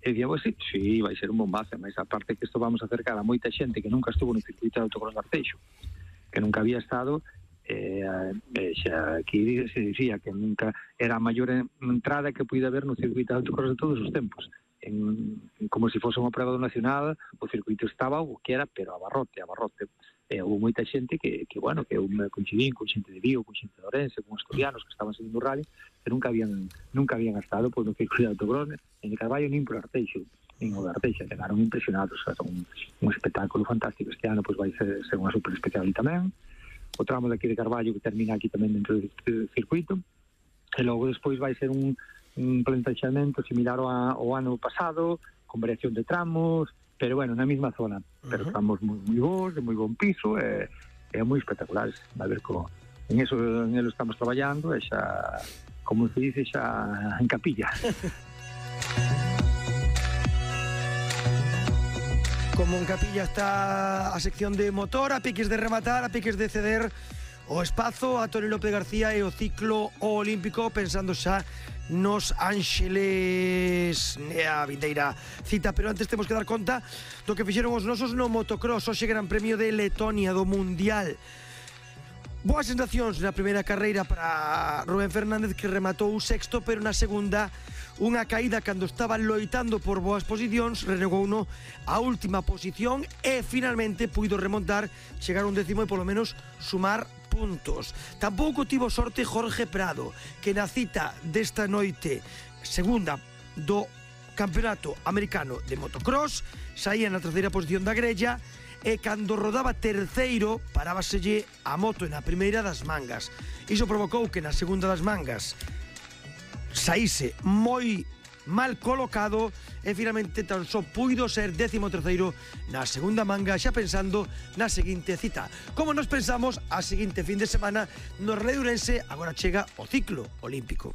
E dicía, pues sí, vai ser un bombazo, mas aparte que isto vamos a acercar a moita xente que nunca estuvo no circuito de autocross de Arteixo, que nunca había estado, xa aquí se dicía que nunca era a maior entrada que puide haber no circuito de autocross de todos os tempos. Como se fose unha prova do nacional, o circuito estaba o que era, pero a barrote. Houve moita xente que bueno, que eu me coincidín con xente de Vigo, con xente de Ourense, con asturianos que estaban seguindo o rally, que nunca habían estado no circuito de autocross, en de Carballo nin por Arteixo, nin o de Arteixo, chegaron impresionados. Un espectáculo fantástico este ano, pois vai ser unha super especial tamén. O tramo de aquí de Carballo que termina aquí tamén dentro do circuito, e logo despois vai ser un plantaxamento similar ao ano pasado, con variación de tramos, pero bueno, na mesma zona, pero tramos moi bons, de moi bon piso, e moi espectaculares. A ver, en eso estamos traballando, e xa, como se dice, xa en capilla. Como en capilla está a sección de motor, a piques de rematar, a piques de ceder o espazo a Toni López García e o ciclo olímpico, pensando xa nos Ángeles a vindeira cita. Pero antes temos que dar conta do que fixeron os nosos no motocross. Hoxe Gran Premio de Letonia do Mundial. Boas sensacións na primeira carreira para Rubén Fernández, que rematou o sexto, pero na segunda unha caída cando estaba loitando por boas posicións, renegouno a última posición e finalmente puido remontar, chegar a un décimo e polo menos sumar puntos. Tampouco tivo sorte Jorge Prado, que na cita desta noite segunda do Campeonato Americano de Motocross saía na terceira posición da grella, e cando rodaba terceiro parábaselle a moto na primeira das mangas. Iso provocou que na segunda das mangas saíse moi mal colocado e finalmente tan só puido ser 13º na segunda manga, xa pensando na seguinte cita. Como nos pensamos, a seguinte fin de semana no Rally de Ourense agora chega o ciclo olímpico.